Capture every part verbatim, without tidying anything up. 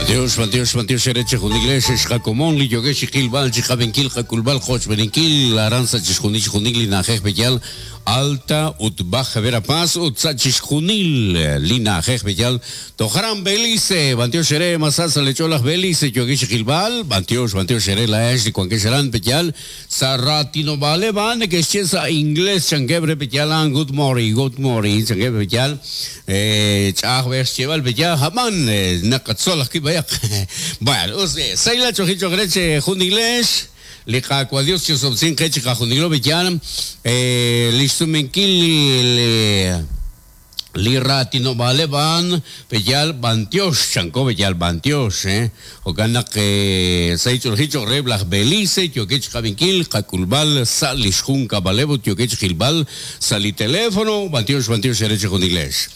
Dios, Dios, Dios, ereche juniglesh, xqakomon li yogesh qilbal chiqabenkil qakulbal qochbeninkil aranza chixjunil chixjunil li na'ajej beyal alta ut baja Verapaz ut sa chixjunil li na'ajej beyal tojaran Belice Bantiox ere masasa lecholaj Belice yogesh qilbal Bantiox Bantiox ere laesh li kuankesh aran beyal sa ratino vale van que sa inglés chanquebre beyal good morning good morning chanquebre beyal eh chaj ver lleval beyal jaman naqatzolaj kibayaq. Bueno, usted, Saila Chojicho Greche, Junilesh, Liqa Dios Chosobsin Quechica Junilo Bellan, eh, Listumenkil, li ratino vale van beyal bantiosh chanko beyal bantiosh eh okanak eh saichulhicho reblaj Belice yokech kabinkil kakulbal salishjun kabalebo yokech gilbal sali teléfono bantiosh bantiosh ereche junilesh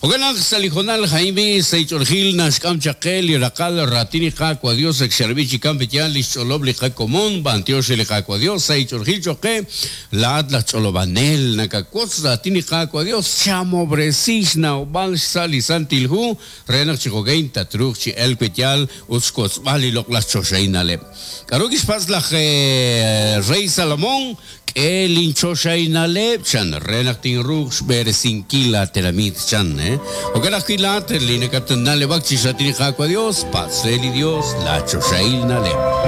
okanak salijonal Jaime saichulhil nashkam chaqel irakal ratini kakua Dios exervichi kampetian licholob li kakomon bantiosh li kakua Dios saichulhil choque la atlas cholobanel nakakotz ratini kakua Dios chamobre Sisna obal sali santilhu renak chigogein tatruch chi el petial uskots bali loklas chosheinale. Karugis paslaj Rey Salomón que linchosheinale chan renak tinrux beresinkila teramit chan eh. Okaraj kilat linekatanale bakchi satini jakua Dios paseli Dios la chosheinale.